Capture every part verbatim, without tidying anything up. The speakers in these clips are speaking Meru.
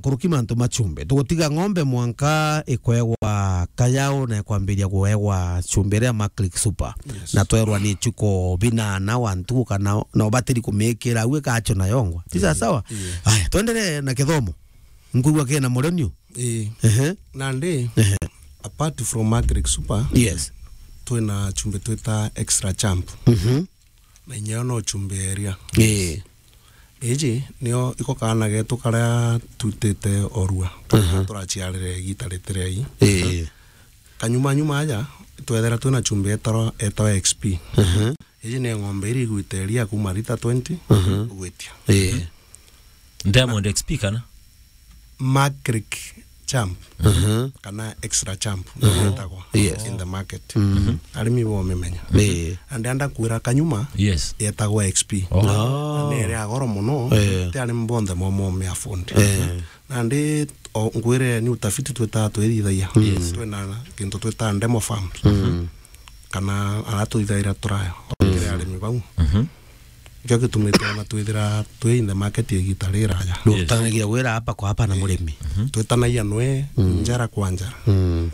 nkuruki mantu ma chumbi. Tugutiga ng'ombe mwanka ikwegwa kayao na ikwambiria kuegwa chumbi iria Maclick Super. Yes. Na twerwa ni chuko binana wa ntuku kana na ubatiri kumikira au ikacho na yongwa. Ti sawa sawa? Yeah. Aya, twendelee na kithomo. Nkuigua kina mureniu. Ii. Ehe. Nandi, ehe, apart from Maclick Super, yes, twina chumbi twita Extra Champ. Mhm. Na inya yo no chumbi ya iria. Ii. Iji nio iko kaana getu karia twitite orua. Aha. Turaciarire igita ritiria ii. Ii. Kanyuma nyuma aja, twethera twina chumbi etaro-, etawa X P. Aha. Iji ni ng'ombe iria igwite iria kuma lita twenty, aha, gwitia. Ii. Diamond X P kana? Maclick Champ, mhm, kana Extra Champ, mhm, ndio yetagwa, yes, in the market. Mhm. Arimi bo mimenya. Eh. And anda kwira kanyuma, yes, yetagwa X P. Oh. Ah. Na ni iria goro muno, eh, ti arimi bonthe mo mo me afford. Eh. Na ndi o ngwire ni utafiti twita twithithagia. Yes. Twina kintu twita demo farms. Mm. Kana ara twithaira turaya, mm, kiri arimi bau. Mhm. Nikio gitumite ona twithira twi in the market igita riraja. Yes. Ndutanagia wira hapa kwa hapa na murimi. Mhm. Twitanagia nwe, mm, njara kwa njara. Mm.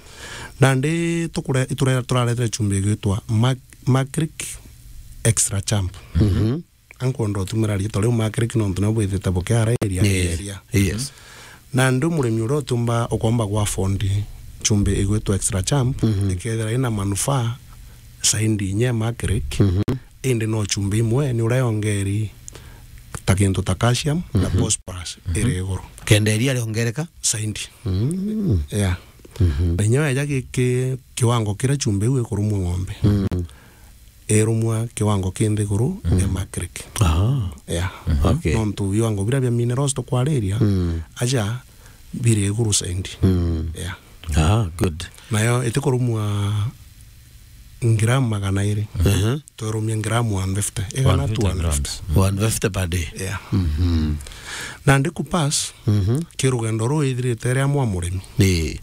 Nandi tukure-, iture-, turaretire chumbi igwitwa Mac-, Maclick Extra Champ. Mhm. Ankwenda utumira riitwa riu Maclick nontu nio bwithite bukiara area, yes, area. Yes. Nandi murimi uria utiumba, ukomba gwa afford chumbi igwitwa Extra Champ, mhm, ikethira ina manufaa saindi inya Maclick, mhm, indi no chumbi imwe ni uria yongeri ta kintu ta calcium na, mhm, phosphorus, mhm, iri iguru. Kenda iria riongereka? Saindi. Mm. Yeah. Mhm. Na inya weja gi-, ki-, kiwango kiria chumbi iu ikurumwa ng'ombe, mm, irumwa kiwango ki nthiguru, mm, ya Maclick. Ah. Yeah. Mhm. Okay. Nontu viwango biria bia minerals tukwariria, mm, aja biri iguru saindi. Mm. Yeah. Ah, good. Nayo itikurumwa ngramu magana iri. Mhm. Twerumia ngramu one fifty. Igana tu one fifty. One fifty grams. Mm. One fifty per day. Yeah. Mhm. Nandi kupass, mhm, ki rugendo ruu ithirite ria mwa murimi. Ii.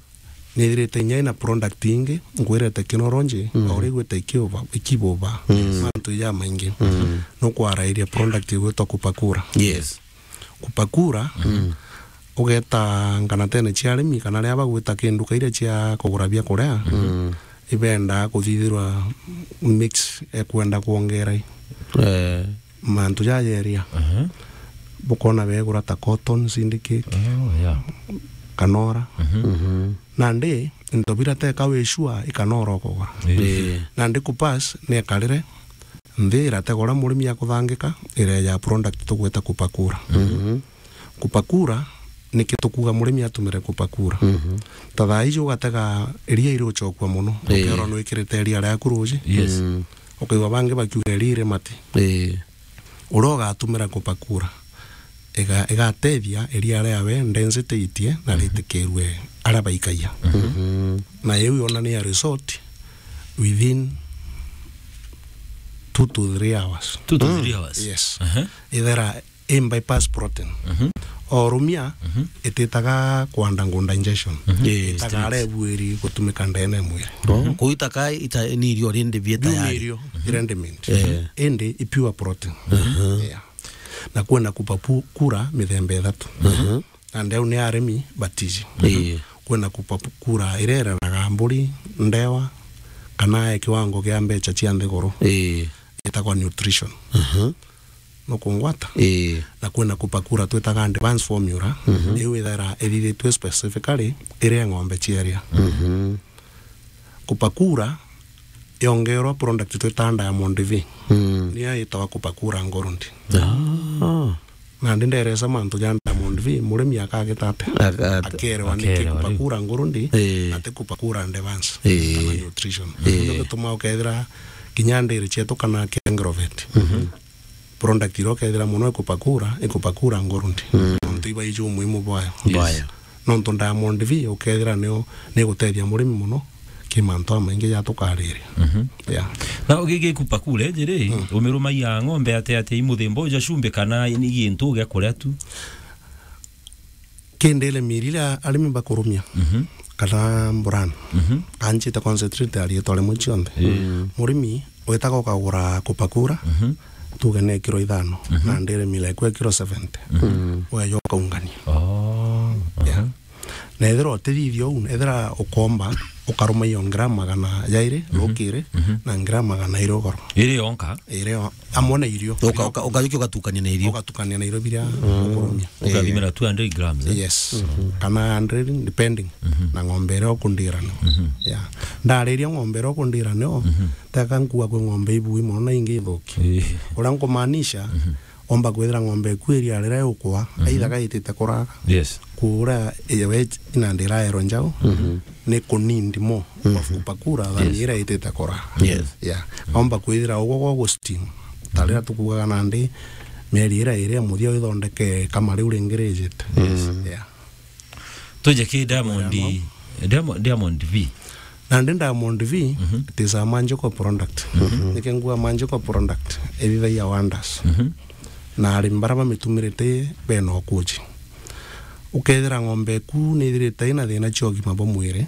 Nithirite inya ina product ingi, ngwire technology, mm, o riu gwita ikiuba, ikibuba, mm, mantu jamaingi. Mm. Nukwarairia product igwitwa Kupakura. Yes. Kupakura, mm, ugeta nganatene cia arimi, kana aria bagwita kinduka iria cia kugura bia kuria, mm, ibenda kuthithirwa mix, ekwenda kwongera i. Eh. Mantu jajeria. Aha. Bukona begura ta cotton, syndicate, oh, yeah, kanora. Mhm. Mhm. Nandi, into bira teka wi sure, ikanora ukugura. Eh. Eh. Nandi kupass, ni ekarire, nthi irategwa uria murimi akuthangika, ireja product tugwita Kupakura. Mhm. Kupakura, niki tukuga murimi atumire Kupakura? Mhm. Ta thaa iji ugatega iria iri uchokua muno, eh, ukerwa nwikirite iria riaku ruji. Yes. Mm. Ukaigua bangi bakiuga iria iri mati. Eh. Uria ugatumira Kupakura, iga-, igatethia iria riawe density itie na, mhm, ritikirue aria baikagia. Mhm. Na iu yonania result within two to three hours. Two to three hours? Yes. Aha. Ithera i bypass protein. Mhm. Orumia, mhm, ititaga kwa undergo digestion. Mhm. Eh, itaga straight. Aria ibuiri gutumika ndene ya mwiri. Oh, mhm, kuitaka ita-, ni irio rindi bie. Biu ni tayari. Irio, mhm, ready made. Eh. Indi i pure protein. Mhm. Yeah. Na kwina Kupakura mithemba ithatu. Mhm. Na ndeu ni arimi batiji. Ii. Kwina Kupakura iria ireraga mburi, ndewa, kana e kiwango gia mbecha cia nthiguru. Ii. Itagwa nutrition. Mhm. Nukungwata? Ii. Na kwina Kupakura twitaga advanced formula, mhm, iu ithaira ithithitue specifically iria ng'ombe cieria. Mhm. Kupakura yongerwa product twitaga Diamond V. Mm. Niyo yitawa Kupakura Gold. Ah. Nandi nderesa mantu ja Diamond V, murimi akagita atia? Aka-, aka-, akerewa niki akerewa riu. Kupakura Gold, ii, ati Kupakura Advance, ii, kana nutrition. Ii. Ndio gituma ukethira kinya ndiri cietu kana kia Agrovet. Mhm. Product iria ukethira muno i Kupakura, i Kupakura Gold. Mm. Nontu iba iji umuhimu bwayo. Yes. Bwayo. Nontu Diamond V ukethira nio, ni gutethia murimi muno ki mantu amaingi ja tukariria. Mhm. Yeah. Na ugigi Kupakura iji ri, mm, umirumagia ng'ombe atia atia i muthemba uja cumbi kana ni gintu gia kuria tu? Kindi ile miri iria arimi bakurumia, mhm, kana brand, mhm, anjite concentrate ya riitwa rimwe cionthe. Mm. Murimi witaga ukagura Kupakura, mhm, tuge ni kiro ithano, mhm, na ndiri mila ikwe kiro seventy. Mhm. Weja ukaungania. Oh. Na ethira utithithia uu, ethira ukomba, ukaruma iyo ngira magana jairi, mhm, rukiri, mhm, na ngira magana iri ugoro. Iri yonka? Iri yo-, amwe na irio. Uka-, uka-, ukajukia ugatukania na irio. Ugatukania na irio biria, mm, ukurumia. Ukathimira, eh, two hundred grams, eh? Yes. Mhm. Kana hundred, depending, mhm, na ng'ombe iria ukundira nio. Mhm. Yeah. Ndariria ng'ombe iria ukundira nio, mhm, teka nkuga kwi ng'ombe ibui mono na ingi ithuki. Eh. Uria nkumaanisha, mhm, omba kwithira ng'ombe eku iria riria yukwa, mhm, either gaitite kuraga. Yes. Kuura iwe inandi iraero njau, mhm, ni kunindi mo, mhm, kwa kupakura than, yes, iria itite kuraga. Yes. Yeah. Omba kwithira ugwo gwa gusting. Ta riria tukugaga nandi, mieri iria iri ya muthia withondeke kama riu ringi rijite. Yes. Yeah. Tuje ki Diamond, Diamond, Diamond V. Nandi Diamond V, mhm, it is a magical product. Mhm. Niki nguga magical product, ithithagia wonders. Mhm. Na arimi baria bamitumirite bena ukuji. Ukethira ng'ombe eku nithirite ina thina cia ugima bwa mwiri,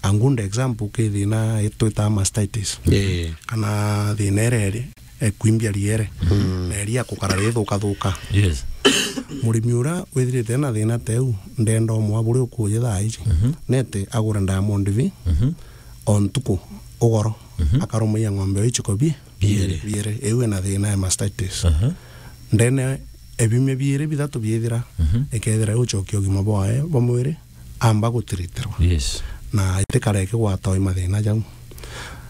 a good example ki thina itwitaga mastitis. Eh. Kana thina iria iri, eh, kwimbia riere. Mm. Na iria kukara rithukathuka. Yes. Murimi uria withirite na thina ta iu, ndenda umwe buria ukuuja thaa iji. Mhm. Nete agure Diamond V, mhm, o ntuku, ugoro, mhm, akarumagia ng'ombe iu ichiko bi-, biere. Biere. Iu ina thina ya mastitis. Aha. Ndene e biumia biiri bithatu biithira, mhm, ikethira iuchokia ugima bwae bwa mwiri, amba gutiritirwa. Yes. Na itikara ikigwatwa i mathina jau.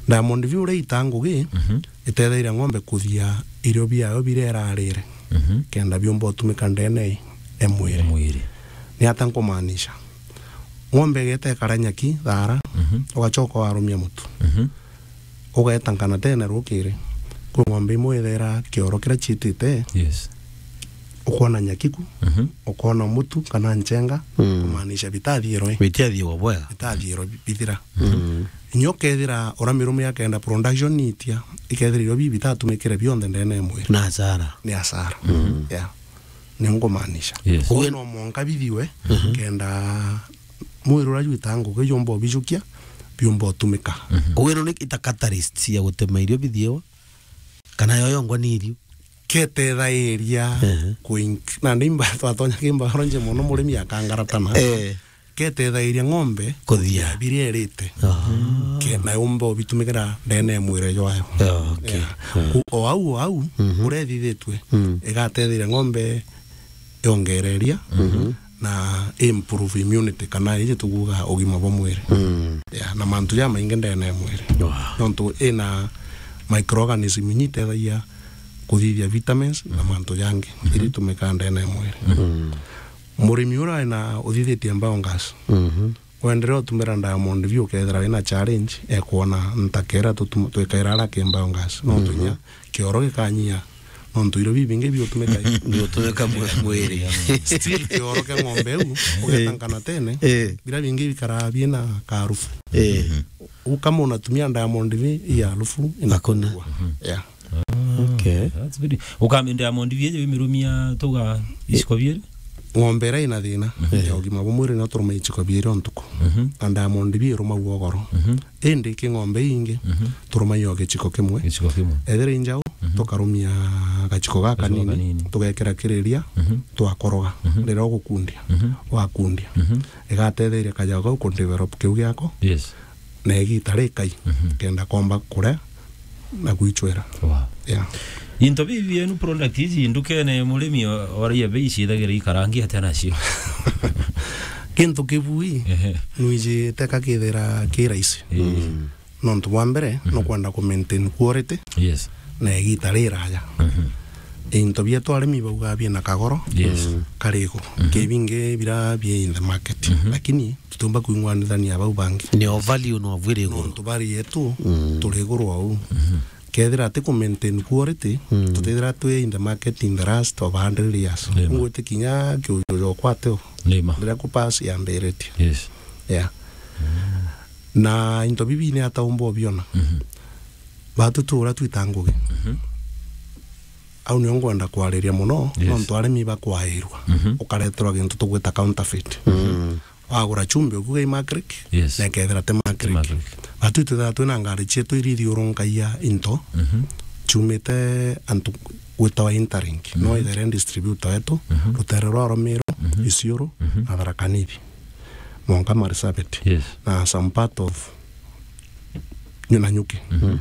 Diamond V uria ita ngugi, mhm, itethairia ng'ombe kuthia irio biayo biria irarire, mhm, kenda biumba utumika ndene e mwiri. E mwiri. Ni ata nkumaanisha? Ng'ombe igeta ikara nyaki, thaara, mhm, ugachoka warumia mutu. Mhm. Ugeeta nkanatene rukiri, kwi ng'ombe imwe ithaira kioro kiria chiitite, yes, ukoona nyaki ku, mhm, ukoona mutu kana nchenga, mm, kumaanisha bitathirwe. Bitiathiwa bwega. Bitathirwe bi-, bithira. Mm. Inya ukethira uria mirume akenda production itia, ikethira irio bibi bitatumikire bionthe ndene ya mwiri. Na hasara. Ni hasara. Mm. Yeah. Ni nkumaanisha. Yes. Koguo no mwanka bithiwe, mhm, kenda mwiri uria jwita ngugi jumba ubijukia, biumba utumika. Mhm. Koguo ino ni ita catalyst ya gutema irio bithiwa, kana yo yongwa ni irio? Ketethairia, ehe, kuink-, na ni mba-, twatonya ki biology mono, murimi akangaratana. Eh. Ketethairia ng'ombe kuthia, kuthia biria irite. Ah. Ke-, na yumba ubitumikira ndene ya mwiri jwayo. Ah, okay. Yeah. Ah. Ku-, o au, o au, mhm, uria ithithitue, mm, igatetheria ng'ombe yongereria, mhm, na improve immunity, kana iji tukuuga ugima bwa mwiri. Mm. Yeah, na mantu jamaingi ndene ya mwiri. Wow. Nontu ina microorganism inya itethagia kuthithia vitamins na, mhm, mantu jangi, mhm, iria itumikaa ndene ya mwiri. Mm. Murimi uria ena uthithitie biogas, mhm, wendere utumira Diamond V, ukethira wina challenge, ekwona ntakera tutum-, twikaira ara ki biogas. No, mhm, tunya kioro gikanyia, nontu irio bibingi biutumika i-, biutumika mwe-, mwiri. Still kioro kia ng'ombe iu, ugeta, eh, nkanatene, eh, bira bingi bikaraa biina karufu. Eh. U kama unatumia Diamond V, hii harufu inapungua. Hakuna. Mhm. Yeah. Ah, okay. That's very, ukamenda Diamond V eje wimirumia tuga ichiko biiri? Ng'ombe iria ina thina, mhm, ya ugima bwa mwiri no turuma ichiko biiri o ntuku. Mhm. Na Diamond V irumagua ugoro. Mhm. Indi ki ng'ombe ingi, mhm, turumagia o gichiko kimwe. Gichiko kimwe. Ethira i njau, mhm, tukarumia gachiko gakanini, gachiko gakanini, tugekira kiriria, mhm, twakoroga. Mhm. Riria ugukundia, mhm, wakundia, mhm, igatetheria kajao kau kudevelop kiu giako. Yes. Na igita rikai, mhm, kenda komba kuria na gwichwira. Wow. Yeah. Into bibi bienu product ici ndukene murimi o-, oraia bei ciithagira ikarangi atia nacio? Kintu kibui, ehe, nwiji teka kithira ki raisi. Ii. Mm. Nontu bwa mbere, mhm, nukwenda ku maintain quality, yes, na igita riraya. Mhm. Into bietu arimi baugaa biina kagoro, yes, mm, kari iguru. Mhm. Ki bingi bira bi in the market. Mhm. Lakini tutiumba kwing'wanithania bau bangi. Ni o value no bwiri iguru. Nontu value yetu, mm, turi iguru o uu. Mhm. Kethira ati ku maintain quality, mm, tutithira twi in the market in the last of a hundred years. Nima. Ngwitikinya kiujo jokwa ateo. Nima. Riria ku pass yambiritie. Yes. Yeah. Mm. Na into bibi ni ata umba ubiona? Mhm. Batu tu uria twita ngugi. Mhm. Au nio ngwenda kwariria mono, yes, nontu arimi bakwairua. Mhm. Ukareterwa gintu tugwita counterfeit. Mm. Wagura chumbi ukuga i Makrick, yes, na ikethira ti Makrick. Ti Makrick. Batu twithaa twina ngari cietu iria ithiurunkagia into, mhm, ciumite antu gwitawa Interlink. Mhm. No ithere distributor wetu, mhm, rutere rwa Rumiru, mhm, Isiolo, mhm, na Tharaka Nithi. mwanka Marsabit. Yes. Na some part of Nanyuki. Mhm.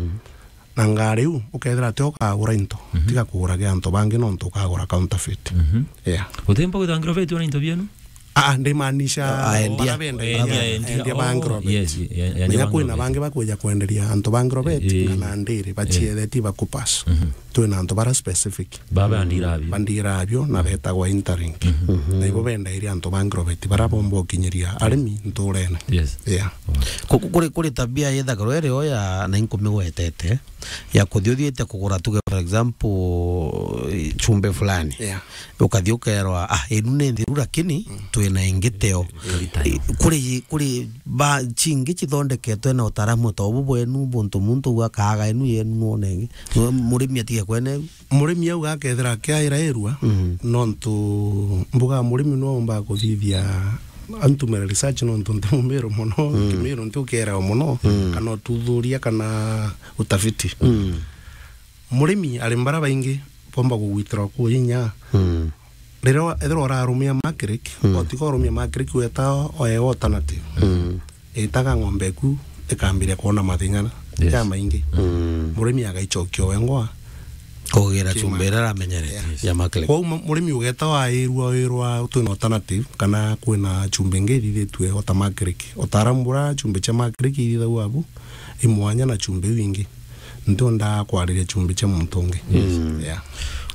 Na ngari iu, ukethira ati ukagura into, mhm, tiga kugura gia antu bangi nontu ukagura counterfeit. Mhm. Yeah. Utimba gwita aggravate ona into bienu? Ah, ah, ndimaanisha ah, endia. Bara benda endia, endia, endia ba aggravate. Yes, yeah, endia. Menya kwina bangi bakwija kwenderia antu ba aggravate, eh, kana ndiri, eh, bacietheti bakupas. Mhm. Twina antu bara specific. Baba andira abio. Bandira abio na betagwa Interlink. Mhm. Na ibo bendairia antu ba aggravate, bara bomba ukinyiria arimi nturene. Yes. Yeah. Ku-, ku-, kuri, kuri tabia yethagirwa iri o ya na inkumigwetete, ya kuthi uthiite kugura, tuge, for example, chumbi fulani. Yeah. Ukathi ukerwa, "Ah, inu ni nthiru, lakini twina ingi teo." Kuri, kuri ba, chingi chithondeketwe na utaaramu ta ubu bwenu, buntu muntu u akaaga inu yenu nwone ingi. Murimi atige kwene. Murimi au akethira akiaira irua, mm, nontu mbuga murimi no omba kuthithia antumire research nontu nti mumiru mono, mm, kimiru nti ukierawa mono, mm, kana ututhuria kana utafiti. Mm. Murimi ari mbara baingi bomba kugwitirwa ku inya. Mm. Riria wa-, ethirwa urarumia Macrec, mm, otiga urumia Macrec weta o-, oe alternative. Mm. Itaga ng'ombe eku ikambiria kwona mathina, yes, ja maingi. Mm. Murimi agaicokia wengwa. Kugira chumbi iria aramenyerete, yeah, ya Macrec. Kwou mu-, murimi ugeta wairua, wirwa twina alternative, kana kwina chumbi ingi ithithitue o ta Macrec. Utaaramu bura chumbi cia Macrec ithithagua abu, i mwanya na chumbi iu ingi. Ntienda kwariria chumbi cia muntu ungi. Yes. Yeah.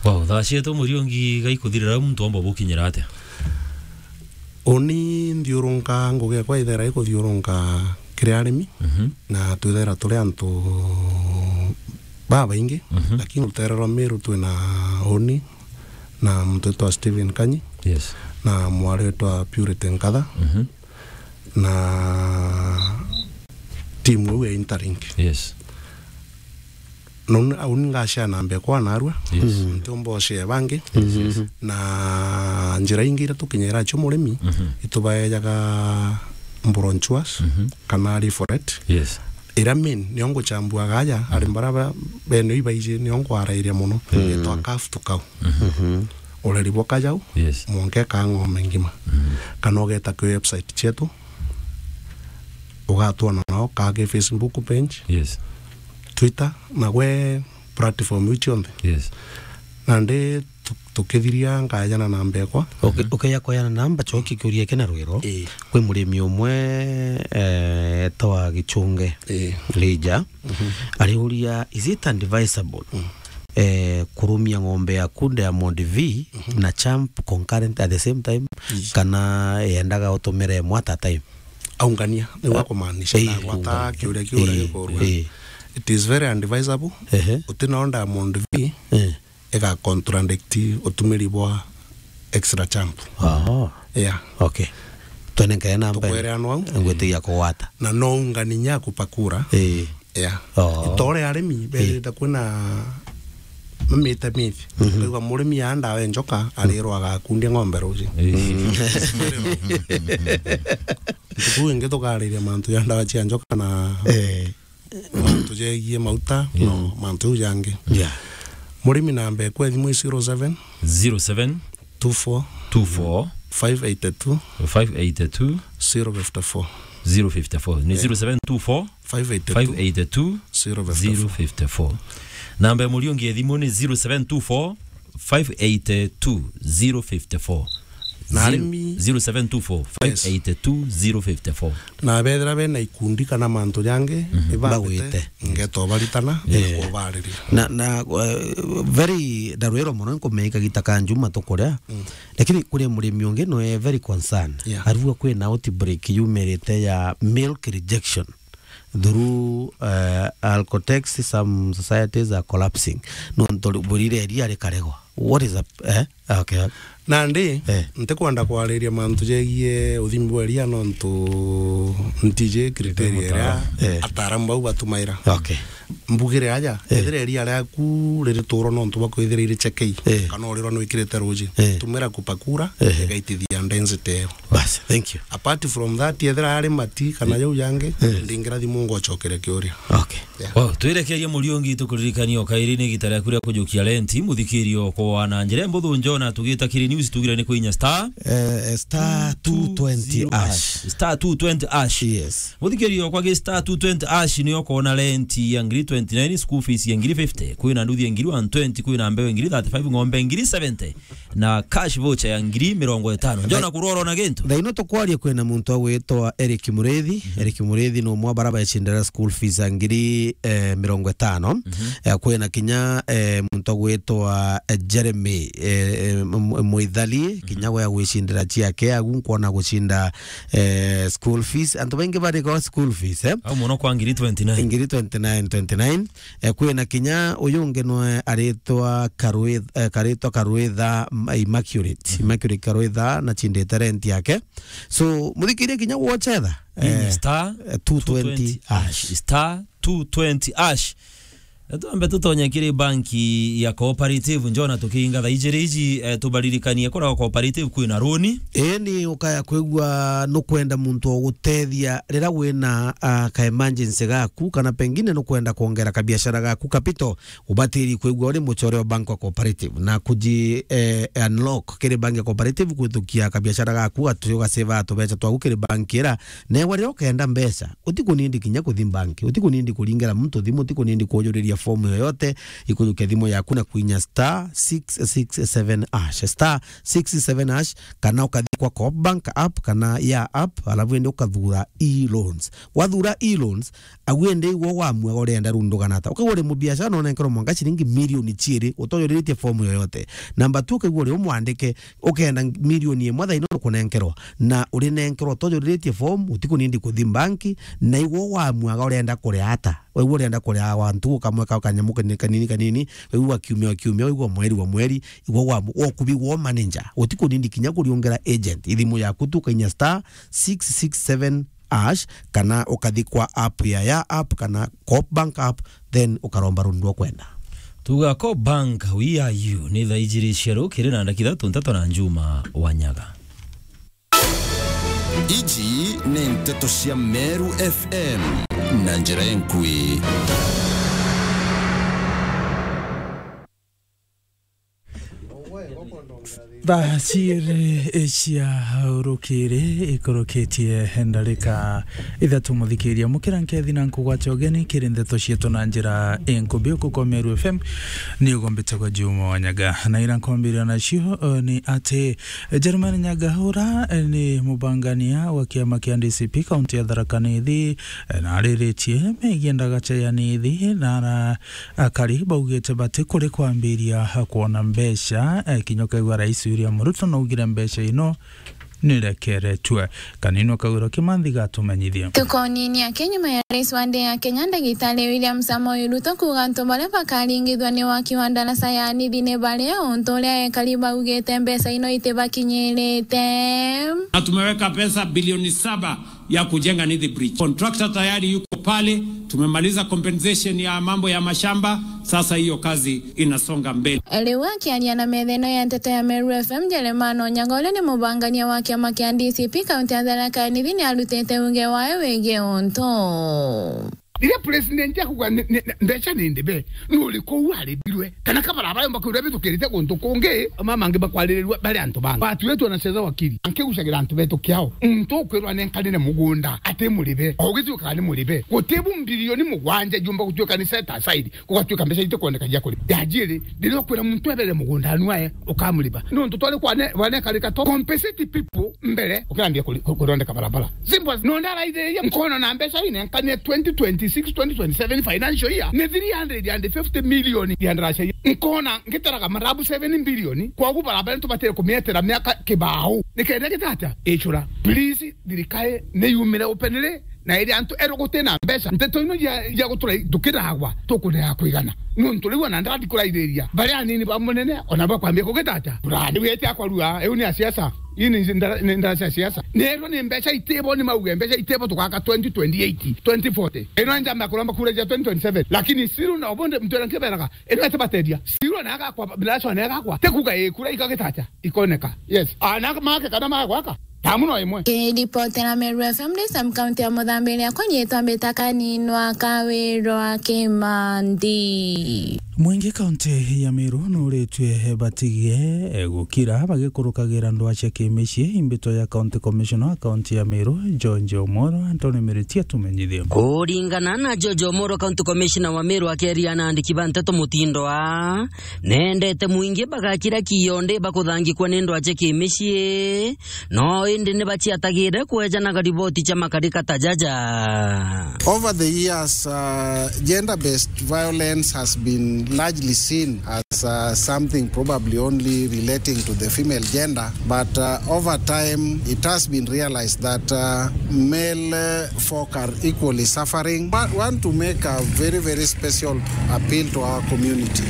Wow, thaa cietu Muriungi gaikuthirira, muntu omba bukinyira atia? Uni nthiurunka, ngugi ekwa ithera ikuthiurunka kiri arimi, mhm, na twithera turi antu babaingi, mhm, lakini rutere rwa Meru twina uni na muntu witwa Stephen Kanyi, yes, na mwari witwa Purity Nkatha, mhm, na timu iu ya Interlink. Yes. Na uni, uni ngashare namba ekwa narua. Yes. Mm. Ntiumba ushare bangi. Yes, yes. Na njira ingi iria tukinyira acio murimi, mhm, itubaejaga brochures, mhm, kana leaflet. Yes. Iria main, nio nguchambuaga aja, mhm, ari mbara ba-, bene ibaiji, nio nkwarairia mono. Mm. Itwa calf to cow. Mhm. Ureri bwa kajau, yes, mwanka ikaa ng'ombe ngima. Mhm. Kana ugeta kwi website cietu, ugatwona nao, kaa ki Facebook page, yes, Twitter, na gwe platform iu cionthe. Yes. Nandi tu-, tukithiria nkayana namba ekwa. Uki-, mhm, ukeya kweyana namba, coki kiuria kina rwiro. Ii. Kwi murimi umwe, eh, etagwa Gichunge, ii, Lija. Mhm. Ariuria, is it advisable, mm, eh, kurumia ng'ombe yaku Diamond V, mhm, na Champ concurrent at the same time, ii, kana yendaga utumire imwe at a time? Aungania, niu akumaanisha, eh, ndagwata kiuria kiu uria gikurua. Eh. It is very advisable. Ehe. Utina Diamond V, eh, iga contradict utumiri bwa extra Champ. Aha. Yeah. Okay. Twene nkaya namba. Tukwereanwa au. Ngwitigia kugwata. Na no ungania nya kupakura. Eh. Yeah. Oh. Itore arimi, eh, berite kwina mamite mithi. Mhm. Kauga murimi ya ndawa ya njoka, arirwa agakundia ng'ombe ruji. Eh. Ntuku ingi tukariria mantu ya ndawa cia njoka na, eh, mantu jegie mauta, mm, no, mantu jau jangi. Yeah. Murimi namba ekwa thimu i zero seven. Zero seven. Two four. Two four. Five eight two. Five eight two. Zero fifty four. Zero fifty four. Ni, yeah, zero seven two four. Five eight two. Five eight two. Zero fifty four. Zero fifty four. Namba ya Muriungi ya thimu ni zero seven two four, five eight two, zero fifty four. Na arimi, zero seven two four, yes, five eight two, zero fifty four. Na bethira bena ikundi kana mantu jangi, mhm, ibambite, bagwite, ngeto baritana, yeah, kubariria. Na, na, eh, very ndarwiro mono, nkumenya kagita ka njuma tukuria. Mm. Lakini kuri murimi ungi no e very concerned. Yeah. Arua kwina outbreak yumirite ya milk rejection through, eh, Alcotex, some societies are collapsing. Nontu burire iria rikaregwa. What is up? Eh? Okay. Nandi, eh, ntikwenda kwariria mantu jegie uthimi bwa iria nontu ntiji criteria iria, eh, ataaramu bau batumaira. Okay. Mbugire aja, eh, ethira iria riaku riri turo nontu bwa kwithira iri chekei, eh, kana urirwa nwikirite ruji, eh, tumira kupakura, eh, igaitithia density iyo. Bas, thank you. Apart from that, ethira ari mati kana, eh, jau yangi, eh, ndingira thimu ngocokeria kiuria. Okay. Yeah. Wow, twirekerie Muriungi, tukuririkanie o kairi ni igita riaku ria kujukia renti, muthikirio kwa na njira mbuthu njona tugita kiri news tugire ni kwinya star, eh, star two twenty hash. Star two twenty hash. Yes. Muthikirio kwa gi star two twenty hash ni ukoona renti ya ngiri twenty-nine, school fees ya ngiri fifty, kwina nduthi ya ngiri one twenty, kwina mbeu ya ngiri thirty-five, ng'ombe ngiri seventy, na cash voucher ya ngiri mirongo itano. Njona kuroro na gintu. Thaino tukwaria kwina muntu agwitwa Eric Murithi. Mhm. Eric Murithi ni umwe wa bara becindira school fees ya ngiri, eh, mirongo itano. Mhm. Eh, kwina kinya, eh, muntu agwitwa, eh, Jeremy, eh, eh, M-, M-, Mwithali, mhm, kinya we agwicindira ciake, agu nkwona gucinda, eh, school fees. Antu baingi bari kwa school fees, eh? Au muno kwa ngiri twenty-nine. Ngiri twenty-nine, twenty-nine. Eh, kwina kinya uyu ungi nwe aritwa Karwith-, eh, karitwa Karwitha, mm, Immaculate. Mhm. Immaculate Karwitha na cindite rent yake. So, muthikirie kinya gwocetha, eh, star eh, two twenty hash. Star two twenty hash. Twambe tutonye kiri banki ya Cooperative, njona tukiinga thaa ijiri iji, eh, tubaririkanie kura Cooperative kwina runi. Ii ni ukaya kwigua nukwenda muntu wa gutethia rira wina, ah, ka emergency gaku, kana pengine nukwenda kwongera kabiashara gaku capital, ubatiri kwigua uri muchore wa bank wa Cooperative na kuji, eh, unlock kiri bank ya Cooperative kwithukia kabiashara gaku, gatucio gaseva tubecha twaku kiri bank ira. Newa riria ukenda mbeca, utikunindi kinya kuthi bank, utikunindi kuringera muntu thimu, utikunindi kujuriria fomu yoyote, ikujukia thimu yaku na kwinya star six six seven hash, star six six seven hash, kana ukathi kwa Coop Bank app kana ya app, alafu ende ukathura e-loans. Wathura e-loans, agu ende igwo wamua urenda rundu kana ata. Ukaigua uri mubiashara na unenkerwa mwanka ciringi milioni ciiri utojuriritie fomu yoyote. Number two, ukaigua uri umwandike, ukenda milioni imwe thaino nukunenkerwa, na urinenkerwa utojuriritie fomu, utikunindi kuthi banki, na igwo wamuaga urenda kuria ata. Waigua urenda kuria wantu ukamweka kanyamu kanini, kanini, kanini, waigua kiumia wa kiumia, waigua mweri wa mweri, igwo wa, wa kubi wo manager. Utikunindi kinya kuriungera agent. Ithimu yaku tu ukainya star six six seven hash, kana ukathi kwa app ya, ya app, kana Coop Bank app, then ukaromba rundu rwa kwenda. Tuga Coop Bank, we are you. Ni thaa ijiri cia rukiri na ndakika ithatu, Nteto na Njuma Wanyaga. Iji ni nteto cia Meru F M na njira enkui. Thaa ciiri cia rukiri ikurukitie ndarika ithatu, muthikiria, mukira nkethi na nkugwate ugeni kiri ndeto cietu na njira inkubi. Uku kwa Meru F M ni ugombitagwa Juma Wanyaga, na ira nkwambiria nacio, eh, ni ati Jerumani Nyagahura, eh, ni mubangania wa kiama kia D C P kaunti ya Tharaka Nithi, eh, na ariritie megie ndagacha ya Nithi, na ara-, akari baugite bati kuri kwambiria kwona mbeca, eh, kinya ukaigua Rais William Ruto naugire mbeca ino nirekeretue. Kanini Kagwiro Kimanthi gatumenyithie. Tukonini ake nyuma ya rais wa nthi ya Kenya, Ndagitari William Samoei Ruto, kuuga antu baria bakaringithua ni waki wa ndaraca ya Nithi ni baria, untu uria ekari baugite mbeca ino itibakinyirite. Na tumeweka pesa bilioni saba ya kujenga Nithi Bridge. Contractor tayari yuko pale, tumemaliza compensation ya mambo ya mashamba, sasa hiyo kazi inasonga mbele. Riu akiaria na metha ino ya nteto ya Meru F M, Jeremani Onyango, uria ni mubangania wa kiama kia D C P kaunti ya Tharaka Nithi, ni arutite uge wae wigie untu. Riria president akuga ni, ni, mbeca ni ndibe, ni uriku u aribirwe? Kana kabarabara yomba kwirwa bitukirite guntu kungi, mama angi bakwaririrua bari antu bangi. Watu wetu wanacheza wakili, nkigucagira antu betu kiao. Muntu ukwirwa nenkanire mugunda ati muribe, o ugituikaga ni muribe. Gutibu mbirioni mugwanja jumba gutuika ni set aside. Gugatuika mbeca itikwoneka cia kuriba. Ya jiri, riria ukwira muntu ebere mugunda anu ae, ukamuriba. Nontu twari kwane, bwanekarika to compensate people mbere, ukirambia kuri-, ku-, kuthondeka barabara. Simple as, nonde araithiria nkono na mbeca inenkanie twenty twenty-six, twenty twenty-seven financial year, ni three hundred and fifty million ya ndaraca. Nkona ngitaraga marabu seven billion, kwagu barabara ntubatire kumietera miaka kibao. Nikenda gitatia? Icura. Please, thirikari ni yumire openly, na iri antu eru gutina mbeca. Nteto ino cia, cia gutura tukiragwa, tukunega kwigana. Nontu riu ona ndandi kuraithiria, baria anini ba munene, ona bakwambia kugitata. Kura, riu eti akwarua, iu ni a siasa. Ii ni ndara-, ni ndara cia siasa. Neerwa ni mbeca itibo, ni mauge mbeca itibo tugaka twenty twenty-eight, twenty forty. Ino njamba kuromba kura cia twenty twenty-seven. Lakini still na obonde mtu ena nkiberaga, ino ete bateria. Still na agakwa, ndara cia na agakwa. Tekuga ikura ikagitacha, ikoneka. Yes. Ana make kana magwaka. Tamu no imwe. Kiripotera Meru F M ndi Sam County ya Muthambi, akwa nyitwa mbita Kaninwa Kawirwa Kimandi. Mwingi kaunti ya Meru nuritue batige gukira bagikurukagira ndwaa cia kimicii. Imbitwa ya County Commissioner wa kaunti ya Meru, George Omoro, Anthony Miritia tumenyithie. Kuringana na George Omoro, County Commissioner wa Meru, akeria na andiki ba nteto mutindo aa, nendete mwingi bagakira kionde bakuthangikwa ni ndwaa cia kimicii, no indi ni baciatagire kwejanaga riboti cia makarika ta jaja. Over the years, uh, gender-based violence has been largely seen as, uh, something probably only relating to the female gender, but, uh, over time it has been realized that, uh, male, uh, folk are equally suffering. Wa-, want to make a very, very special appeal to our community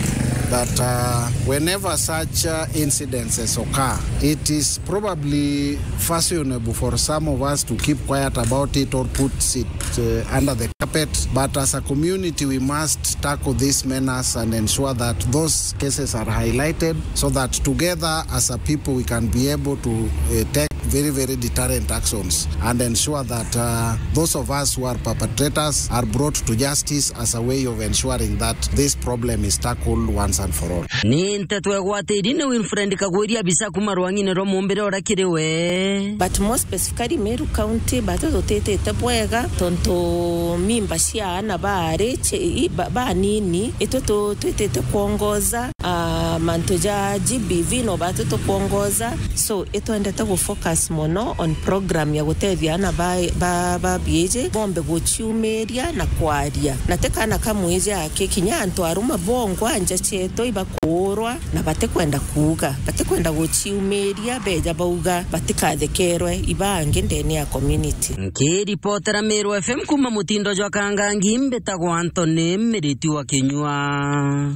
that, uh, whenever such, uh, incidences occur, it is probably fashionable for some of us to keep quiet about it or put it, uh, under the carpet. But as a community, we must tackle this menace and ensure that those cases are highlighted so that together as a people we can be able to, uh, take very, very deterrent actions and ensure that, uh, those of us who are perpetrators are brought to justice as a way of ensuring that this problem is tackled once and for all. Ni nteto egwatiri ni Winfred Kagwiri, abisa kuma rwang'ine rwa mumbire uria kiri we. But more specifically Meru County, batu tutitite bwega tontu mimba cia ana bari ci-, i-, ba-, banini, itu tu-, twitite kwongoza, ah, mantu ja G B V no batu tukwongoza. So, itwendete gu focus mono on program ya gutethia ana ba, ba, ba biiji bombe guciumiria na kwaria. Na ti kana kamwe ja aki, kinya antu aruma bongwa nja cietu ibakuurwa na batikwenda kuuga, batikwenda guciumiria, beja bauga batikathekerwe ibangi ndene ya community. Nkiripotera Meru F M kuma mutindo jwa Kangangi, mbitagwa Anthony Miriti wa Kinyua.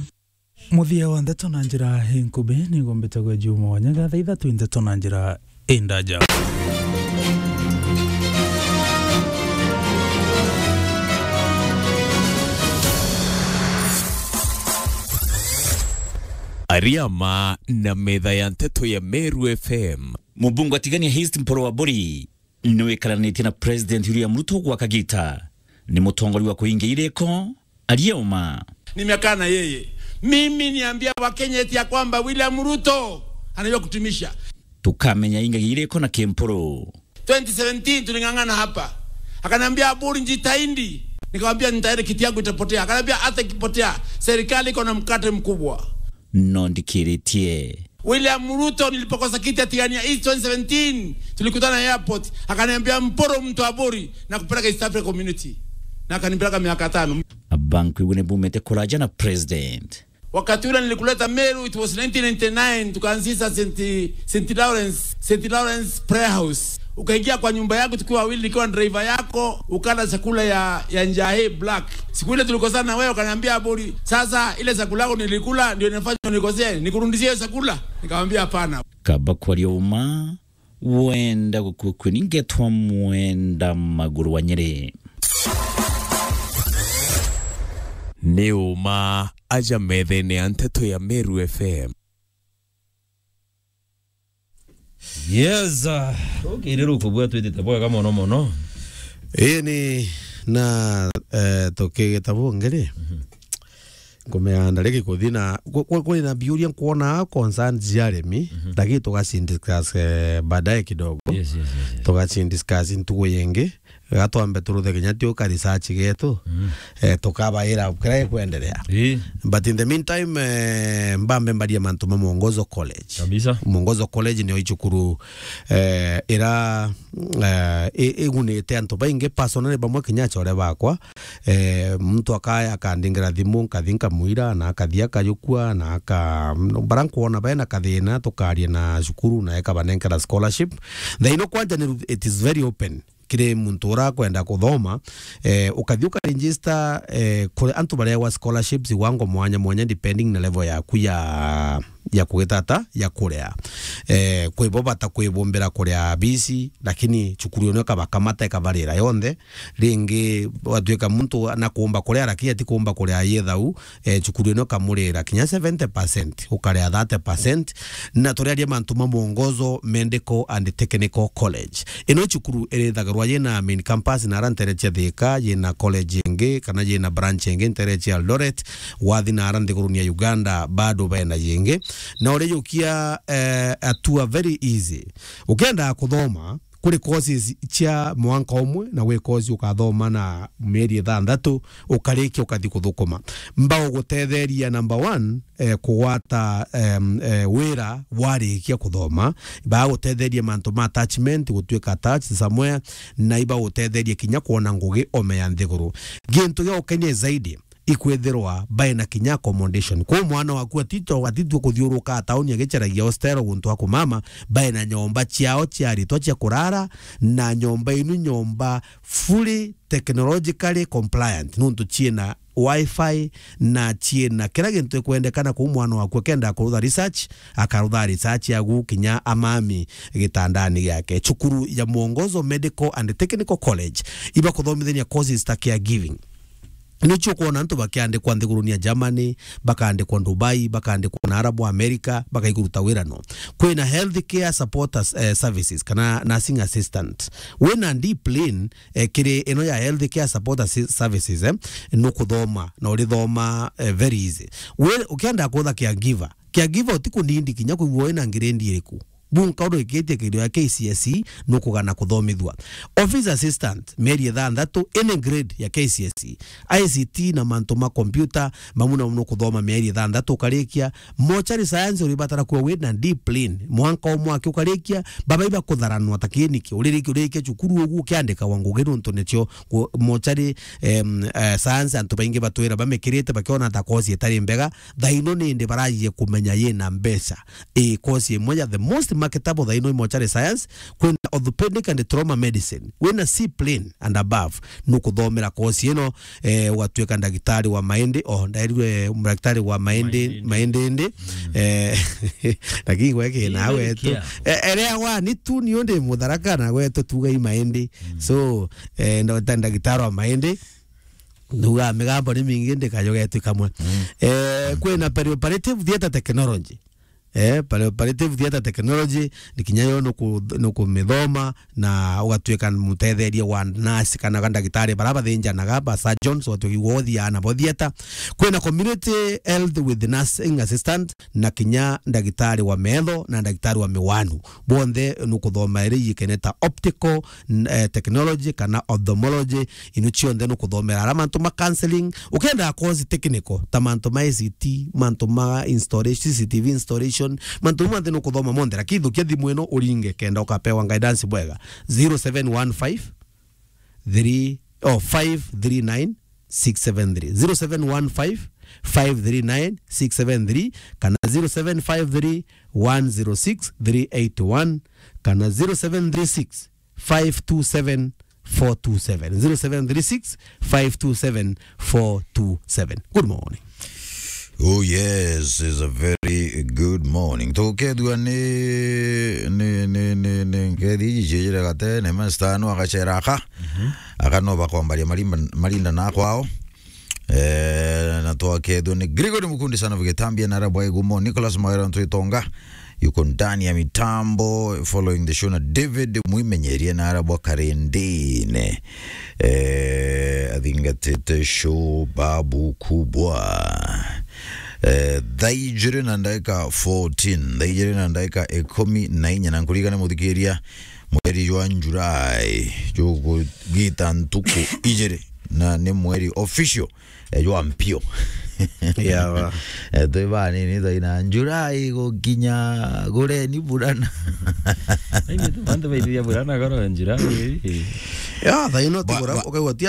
Muthia wa ndeto na njira inkubi, niguo mbitagwa Juma Wanyaga, thaa ithatu ndeto na njira indaja. Ariama na metha ya nteto ya Meru F M. Mubunge wa Tigania East Mpuru wa Buri niwikaranitie na President William Ruto gwa kagita. Ni mutongoria wa kuinga iriko, aria uma. Nimekaa na yeye. Mimi niambia Wakenya eti ya kwamba William Ruto anajua kutumisha. Tukamenya ingagia iriko na Kimpuru. Twenty seventeen tuling'ang'ana hapa. Akaniambia, "Aburi, njitahidi." Nikamwambia, "Nitahidi, kiti yangu itapotea." Akaniambia, "Hata ikipotea, serikali iko na mkate mkubwa." No ndikiritie. William Ruto, nilipokosa kiti ya Tigania East twenty seventeen, tulikutana airport. Akaniambia, "Mpuru, mtu wa Aburi, na kupeleka East Africa Community." Na akanipeleka miaka tano. Abankwigua ni bumite kuraja na president. Wakati ule nilikuleta Meru, it was nineteen ninety-nine, tukaanzisha Saint, Saint Lawrence, Saint Lawrence Prayer House. Ukaingia kwa nyumba yangu tukiwa wawili, nikiwa driver yako, ukala chakula ya, ya njahi black. Siku ile tulikosana na wewe, ukaniambia, "Aburi, sasa ile chakula yako nilikula ndio inafanya unikosee, nikurudishie hiyo chakula?" Nikamwambia, "Hapana." Kaba kwaria uma, wenda gukua kweni ngetwa Mwenda Maguru wa Nyeri. Ni uma aja methene ya nteto ya Meru F M. Yes, uh, tukirira ukubua twitite bwega mono mono. Ii ni na, eh, tukigita bungi ri. Mhm. Nkumea ndariki kuthi na ku-, ku-, kuri na biuria nkwona concerns cia arimi, mhm, lakini tugacindiscuss, eh, baadaye kidogo. Yes, yes, yes, yes. Tugacindiscuss ntugu yingi. Gatwambe turuthe kinya tuka research getu, mm, eh, tukabaira kira gikwenderea. Ii. But in the meantime, eh, mbambe mbarie mantu ma Mwongozo College. Kabisa. Mwongozo College niyo icukuru, eh, ira, eh, i-, igunite antu baingi, personally bamwe kinya achore bakwa. Eh, muntu akaya akandingira thimu, nkathi nkamwira, na akathi akajukua, na aka-, bara nkwona bena kathina, tukaria na cukuru, na ekabanenkera scholarship. Thaino kwanja ni, it is very open. kiri muntu ura kwenda kuthoma, eh, ukathi ukaregister, eh, kuri antu barewa scholarships iwango mwanya mwanya, depending na level yaku ya, ya kugitata, ya kurea. Eh, kwi bo bata kwibumbira kurea bisi, lakini cukuru ino ikabakamata, ikabarira yonthe. Ringi, watuika muntu na kuumba kurea, lakini ati kuumba kurea yethau, eh, cukuru ino ikamurira kinya seventy percent, ukarea thirty percent, na turiaria mantu ma Mwongozo Medical and Technical College. Ino cukuru irithagirwa yina main campus na ara ntere cia Thika, yina college ingi, kana yina branch ingi ntere cia Eldoret, wathi na ara nthiguruni ya Uganda, bado bena yingi. Na urijukia, eh, atua very easy. Ukenda kuthoma, kuri courses cia mwanka umwe, na gwi course ukathoma na mieri ithanthatu, ukarikia ukathi kuthukuma. Mbagugutetheria number one, eh, kugwata, em, eh, wira warikia kuthoma. Bagutetheria mantu ma attachment, gutuika attached somewhere, na ibagutetheria kinya kwona ngugi ome ya nthiguru. Gintu gia gukenia zaidi, ikwithirwa baina kinya accommodation. Kwou mwana waku atito-, atitue kuthiuruka tauni agicaragia hostel guntu akumama, baina nyomba ciao cia aritwa cia kurara, na nyomba inu nyomba fully technologically compliant, nuntu ciina wifi na ciina kira gintu ikwendekana. Kwou mwana waku akenda kurutha research, akarutha research yagu kinya amami gitandani giake. Cukuru ya Mwongozo Medical and Technical College ibakuthomithania courses ta caregiving. Nicio ukwona antu bakiandikwa nthiguruni ya Germany, bakaandikwa Dubai, bakaandikwa na Arabu America, bakaikuruta wira no. Kwina healthcare support as-, eh, services, kana nursing assistant. Wina deep plan, eh, kiri ino ya healthcare support assi-, services, eh, nukuthoma, na urithoma, eh, very easy. We, ukienda kutha caregiver, caregiver utikunindi kinya kwigua wina grade iriku. Bunka urikitie kirio ya K C S E, nukugana kuthomithua. Office assistant, mieri ithanthatu, any grade ya K C S E. I C T na mantu ma computer, mamwe na mamwe nukuthoma mieri ithanthatu ukarikia. Mortuary science uribatara kuwa wina deep plan. Mwanka umwe aki ukarikia, baba ibakutharanwa ta kiniki. Uririkia, urikia cukuru ugu ukiandikawa ngugi nuntu nicio ku-, mortuary, em, eh, science antu baingi batwira bamikirite bakiona ta course itari mbega. Thaino nindi barajie kumenya yina mbeca. Ii, course imwe ya the most marketable thaino i mortuary science, kwina orthopedic and trauma medicine. Wina C plain and above, nukuthomera course ino, eh, ugatuika ndagitari wa maindi, oh, ndairwe ndagitari wa maindi, maindi, maindi. Eh, lakini gweke na wetu. Eh, erea wa ni tu ni undi mutharaka na wetu tuga i maindi. So, eh, ndo ta ndagitari wa maindi. Nuga migambo ni mingi ndikajogetwi kamwe. Eh, kwina perioperative theatre technology. Eh, perioperative theatre technology, ni kinya yo nuku-, nukumithoma na ugatuika mutetheria wa nurse kana ga ndagitari bara bathinjanaga, ba surgeons, ugatuika igwa uthiaa nabo theatre. Kwina community health with nursing assistant na kinya ndagitari wa metho na ndagitari wa miwanu. Bonthe nukuthoma iri yikene ta optical, n-, eh, technology kana ophthalmology, inu cionthe nukuthomera ara mantu ma counseling. Ukenda course technical, ta mantu ma I C T, mantu ma installation, C C T V installation, mantu mau monthe nukuthoma monthe, lakini thukia thimu ino uringe kenda ukapewa guidance bwega. Zero seven one five three, oh, five three nine six seven three. Zero seven one five five three nine six seven three, kana zero seven five three one zero six three eight one, kana zero seven three six five two seven four two seven. Zero seven three six five two seven four two seven. Good morning. Oh yes, is a very good morning. Tukethua ni, ni, ni, ni, ni nkethi iji ciejire gatene, masta no agacera aka. Mhm. Aka no bakwambaria marimba-, marinda na kwao. Eh, na twakethua ni Gregory Mukundi, son of Gitambia, na Arabwa Igumo, Nicholas Magara Ntwitonga, yuko ndani ya mitambo, following the show na David Mwimenyeria na Arabwa Karendine. Eh, athingatite show babu kubwa. Eh, thaa ijiri na ndagika fourteen, thaa ijiri na ndagika ikumi na inya, na nkurigane muthikiria, mweri jwa July, jugugita ntuku ijiri, na ni mweri official, eh, jwa mpio. Yawa. Eh, twi banini thaina July gukinya gureni burana. Ai, ni tu bantu baithiria burana goro July. Ya, thaino ti ba-, bura, ba-, ukaigua ti